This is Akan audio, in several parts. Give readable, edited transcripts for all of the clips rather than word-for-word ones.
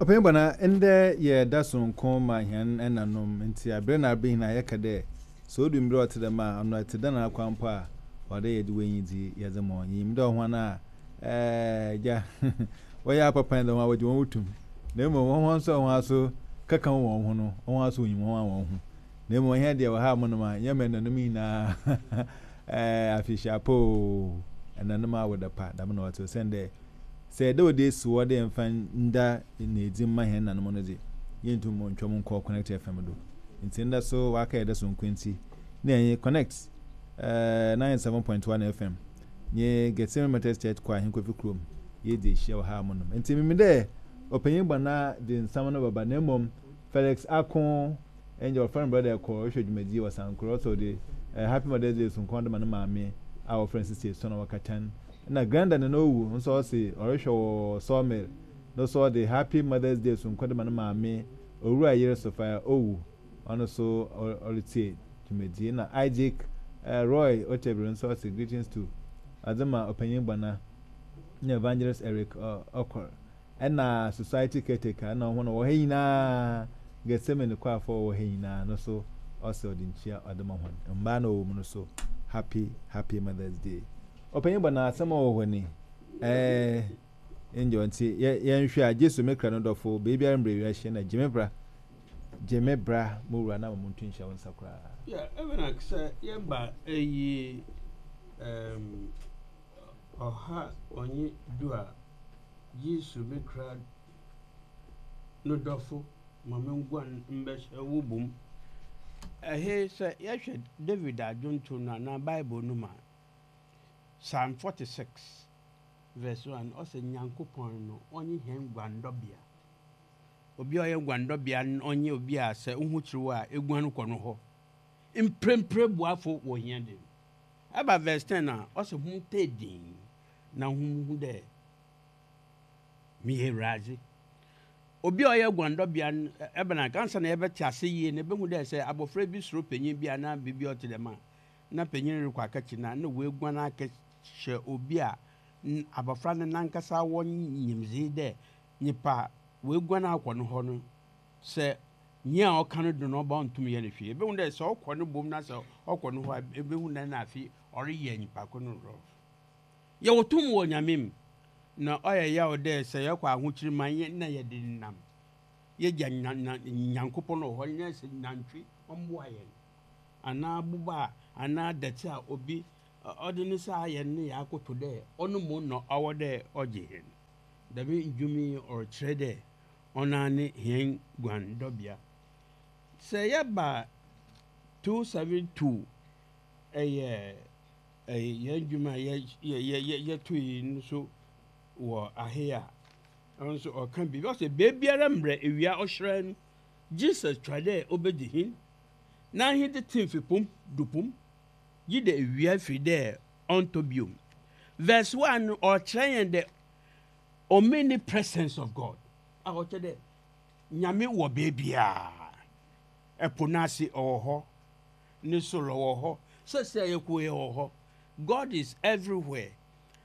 Ɔpanyin Bɔna, ndɛ yɛ da soronko ma hɛn ɛnanom, ntsi aber na aber nyina yɛka dɛ sɛ odu mber a ɔtse dɛm a, ɔno ɛtse dɛn ara koraa mpo a, ɔwɔ dɛ yɛdze w'enyidzi yɛdze ma hɔn. Yenyim dɛ hɔn a ɛɛ gya wɔyɛ apapa dze hɔn a wɔgye hɔn tum, na mbom hɔn so a hɔn aso kɛkã wɔ hɔn ho no, hɔn so wonyim hɔn a hɔn ho. Na mbom hɛn deɛ wɔ ha monom a, yɛma ɛnanom nyina ɛɛ afehyia pa o, ɛnanom awoda pa, dɛm na ɔtse osiandɛ Sɛ dɛ wɔdze esi hɔ dɛ yɛmfa nda na edzi mma hɛn nananom no dze, yenntum nntwa mu nnkɔ Connect FM do. Ntsi ndɛ so wɔakɛyɛ dɛ soronko ntsi, nna yɛnye Connect 97.1 FM nye Gethsemane Methodist Church Choir hɛn Kofi kurom yeedzi ehyia wɔ ha monom. Ntsi minyim dɛ ɔpanyin Bɔna dze nsɛm no bɛba na mbom Felix Ako Ɛnde ɔfrɛ no brɔda kɔ ɔhwɛ dwumadie wɔ Sankore ɔsɛ ɔde eh, Happy Mother's Day sonko ɔde ma ne maame a wɔfrɛ no Sisi Esuon wɔ Katan ɛna Granda Nana Owu nso ɔse ɔrehwɛ wɔ Sawmill no so ɔde Happy Mother's Day sonko de ma ne maame Owura Yere Sophia Owu ɔno so ɔretie dwumadie na Isaac eh, Roy Otebiri nso ɔse greetings to ɔde ma Ɔpanyin Bɔna ne Evangelist Eric Okor. Ɛna society caretaker ɛna ɔho na wɔ ha nyinaa Gethsemane kwaafo a wɔwɔ ha nyinaa no so ɔsɛ ɔde nkyia ɔde ma hɔn mbaa na ɔwɔ mu no so happy happy mother's day ɔpanyin bɔ na asɛm a ɔwɔ hɔ ni ɛɛ angel nti yɛ yɛnhwɛ a Jesu me kra no dɔfo beebiara mbrɛ wiase na gye me bra gye me bra mo wura na ma mo ntu nhyɛ wo nsa koraa. Yeah, even like sɛ yɛba eyi um, ɔha ɔnye du a Jesu me kra no dɔfo ma me nguan mbɛhyɛ wo bom. Ɛhe sɛ yɛhwɛ David adwonto no anaa Bible no mu a, Psalm 46 verse 1 ɔsɛ Nyankopɔn no ɔnye hɛn guandɔbea. Obi a ɔyɛ guandɔbea no ɔnye obi a sɛ woho kyere wo a eguan kɔ no hɔ. Mprempre boafo wɔ hia de. Ɛba verse 10 a ɔsɛ hom taa din na hom hu dɛ meyɛ Ewuradze. Obi a ɔyɛ guandɔbea no, ebɛn a, ansaana yɛbɛtse ase yie no, ebohu dɛ sɛ abofra bi suro panyin bi anaa biribi a ɔtse dɛm a, na panyin no rokɔ akɛkye no a, nna oeguan akɛhyɛ obi a abofra no nankasa wɔ nyimdzee dɛ nyimpa a oeguan akɔ no hɔ no, sɛ nyia a ɔka no do no ɔba a onntum nnyɛ no hwee. Ebohu dɛ sɛ ɔkɔ no bom na sɛ ɔkɔ no hɔ a, ebohu dɛ nna afei ɔreyɛ nyimpa kor no rough. Yɛwɔ tum wɔ Nyame mu, na ɔyɛ yaw dɛ sɛ yɛkɔ ahokyer mu a nna yɛdze nenam yegya Nyankopɔn wɔ hɔ na sɛ nantwi ɔmboa hɛn anaa boba anaa dɛtse a obi ɔdze ne nsa ayɛ no na yɛakoto dɛ ɔno mbom na ɔwɔ dɛ ɔgye hɛn. Dɛm ndwom yi ɔrekyerɛ dɛ ɔnoara nye hɛn guandɔbea. Sɛ yɛba 272 yɛ Yɛn dwuma a yɛto yi nso wɔ ahe a, ɔno nso ɔka biribi. Ɔsɛ beebiara mbrɛ ewia ɔhyerɛn no, Jesus twa dɛ obedzi hen. N'ahendzi tse mfe pom du pom, gyedɛ ewia fir dɛ ɔnntɔ bio. Verse 1 no, ɔrekyerɛ hɛn the omnipresence of God, a ɔkyerɛ dɛ Nyame wɔ beebiara. Ɛpo no ase, ɔwɔ hɔ. Ne sor ɔwɔ hɔ. Sɛsɛɛ yɛkɔ yi ɔwɔ hɔ. God is everywhere.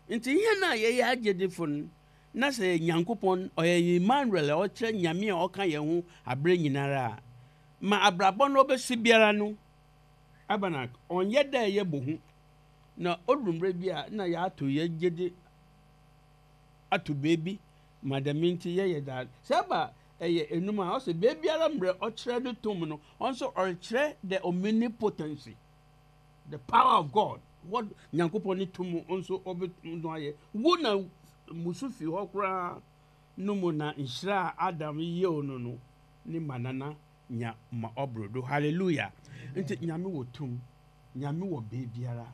Ntsi hɛn a yɛyɛ agyedzifo no, na sɛ Nyankopɔn ɔyɛ Emmanuel a ɔkyerɛ Nyame a ɔka hɛn ho aber nyinara a, ma abrabɔ no ɔbɛsi biara no, Abanak, ɔnnyɛ dɛ yɛbɔ hu. Na odur mber bi a nna yɛatow hɛn gyedzi ato beebi ma dɛm ntsi yɛyɛ dza sɛ ɛba ɛyɛ enum a ɔsɛ beebiara mbrɛ ɔkyerɛ no tum no ɔno so ɔrekyerɛ the omnipotency, the power of God, what Nyankopɔn ne tum nso ɔbɛtum no ayɛ. Wo na musu fi hɔ koraa no mu na nhyira a Adam yew no no ne manana nya ma ɔboro do. Hallelujah. Nti Nyame wɔ tum. Nyame wɔ beebiara.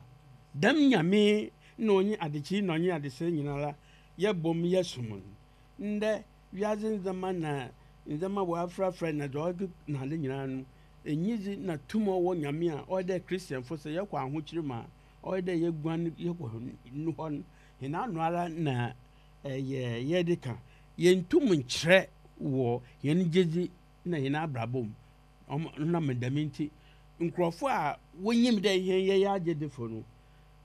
Dɛm Nyame na ɔnye adekyee na ɔnye adesɛɛ nyinara yɛbɔ mu yɛsom no. Ndɛ, wiadze ndzɛmba na ndzɛmba wɔafrafra na dza ɔdze na adze nyinara no, enyidzi na tum a ɔwɔ Nyame a ɔyɛ dɛ Christianfo sɛ yɛkɔ ahokyer mu a, ɔyɛ dɛ yeguan yɛkɔ No hɔ no, hɛn ano ara na yɛdze kã. Yenntum nnkyerɛ wɔ hɛn gyedzi na hɛn abrabɔ mu. Ɔnam dɛm ntsi, nkorɔfo a wonyim dɛ hɛn yɛyɛ agyedzifo no,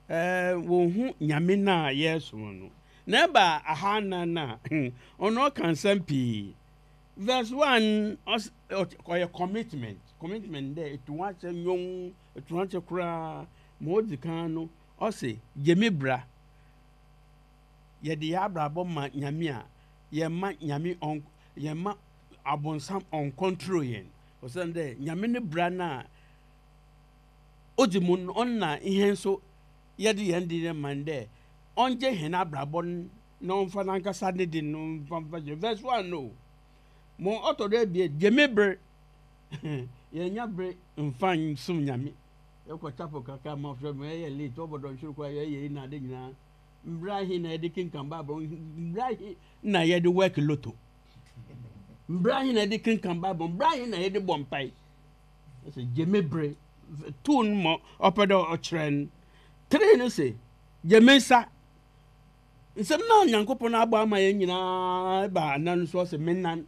wonnhu Nyame no a yɛrosom no. Na eba ahanan no a, ɔno ɔka nsɛm pii. Verse 1 ɔs ɔyɛ commitment, commitment dɛ etu ho ahyɛ nwom, etu ho ahyɛ koraa. Ma odzi kan no, ɔse gye me bra. Yɛde yɛn abrabɔ ma Nyame a, yɛmma Nyame ɔn yɛmma abɔnsam ɔncontrol yɛn. Osiandɛ Nyame ne bra no a odzi mu no, ɔno na hɛn so yɛdze hɛn de rema no dɛ ɔngye hɛn abrabɔ no na ɔmfa nankasa ne de no mfa mfa hyɛ. Verse 1 no, ma ɔtɔ do ebien, gye me ber. Yɛnnya ber mmfa nnsom Nyame. Yɛkɔ chapel kakra ma ɔhwɛ ma yɛyɛ late, ɔbɔ dɔnhwer koraa yɛyɛ yi na ade nyinaa. Mber ahe na yɛde kenkan Bible? Mber ahe na yɛde work lotto? Mber ahe na yɛde kenkan Bible? Mber ahe na yɛde bɔ mpae? Ɔsɛ gye me bere. Two no ma ɔpɛ dɛ ɔkyerɛ no. Three no se gye me nsa. Nsɛm no a Nyankopɔn abɔ ama yɛn nyinaa ba anan so ɔsɛ me nan.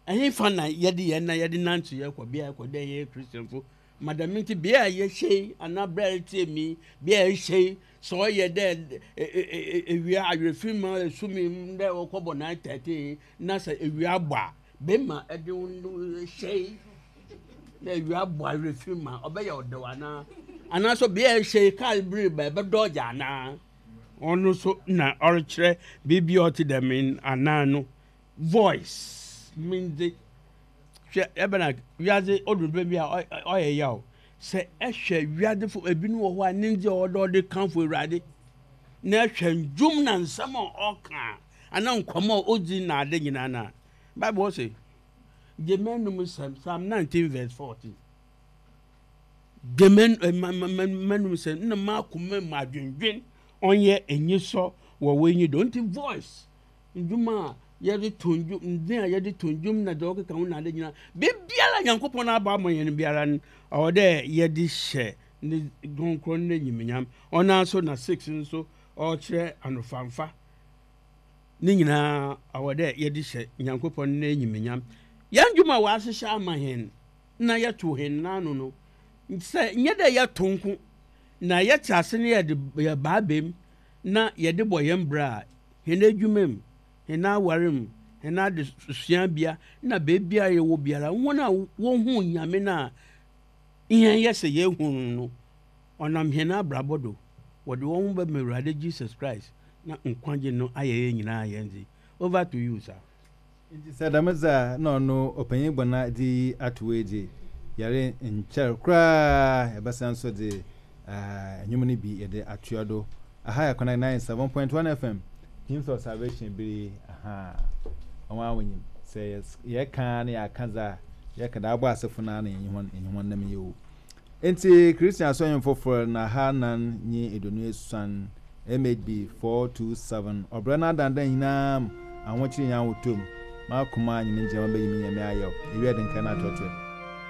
Ɛhefa na yɛde yɛn nan yɛde nante yɛkɔ bea yɛkɔ dɛ yɛyɛ Christianfo? Ma dɛm ntsi bea a yɛhyɛ yi anaa ber a eretsie me yi, bea a ehyɛ yi, sɛ ɔyɛ dɛ ewia awerɛfir mu a esum yi mu dɛ wɔkɔbɔ 9:30 na sɛ ewia abɔ a, bema ɛde wo hyɛ yi na ewia abɔ awerɛfir mu a, ɔbɛyɛ ɔdɛw anaa? Anaa so bea a ehyɛ yi kaar bi reba ɛbɛdɔɔgye anaa? Ɔno so na ɔrekyerɛ biribi a ɔtse dɛm anaa no. Voice, Mindze. Hwɛ, ebɛn a wiadze odur ber bi a ɔyɛ yaw. Sɛ ehwɛ wiadzefo, binom wɔ hɔ a ne ndze a ɔwɔ dɛ ɔdze kamfo Ewuradze, na ehwɛ ndwom na nsɛm a ɔkã a, anaa nkɔmbɔ a odzi na adze nyina no a, Bible se, Gye m'anomu nsɛm, Psalm 19 verse 14. Gye m'anomu nsɛm na m'akoma mu adwendwen ɔnyɛ enyisɔ wɔ w'enyi do. Ntsi voice Ndwom a yɛdze to ndwom, ndze a yɛdze to ndwom na dza ɔkeka ho na adze nyina, biribiara a Nyankopɔn abɔ ama hɛn biara no, ɔwɔ dɛ yɛdze hyɛ ne krɔnkrɔn n'enyimnyam. Ɔnoara so na six no so ɔrekyerɛ anofamfa. Ne nyina ɔwɔ dɛ yɛdze hyɛ Nyankopɔn n'enyimnyam. Hɛn ndwom a wɔahyehyɛ ama hɛn na yɛtow hɛn n'ano no, sɛ nnyɛ dɛ yɛtow nko na yɛtse ase na yɛdze yɛba aba mu na yɛdze bɔ hɛn bra a, hɛn edwuma mu, hɛn awar mu, hɛn adzesuabea na beebiara yɛwɔ biara, hɔn a wohun Nyame no a hɛn yɛ sɛ yehu no no, ɔnam hɛn abrabɔ do, wɔdze hɔnho bɛma Ewuradze Jesus Christ na nkwagye no ayɛ hɛn nyina hɛn dze. Over to you sir. Ntsi sɛ dɛm dze a, nna ɔno ɔpanyin Gbana dze iyi ato hɔ yi dze, yɛrennkyɛr koraa yɛbɛsan so dze ndwom no bi yɛdze atoa do. Aha yɛ Connect 97.1 FM, Hymns of Salvation ber yi, ahaa, hɔn a wonyim, sɛ yɛkã a na yɛakã dza yɛkã dɛ abɔ asefo no ara na yɛnye hɔn yɛnye hɔn nam yi o. Ntsi Christian Asɔr Ndwom Fofor na ahanan nye eduonu esuon, MHB 427, Ɔbra no adandan nyina mu, ahokyer nye ahotɔ mu, M'akoma nye me ngyinama beyi me Nyame ayɛw, Ewia de nkae no atoatoa mu.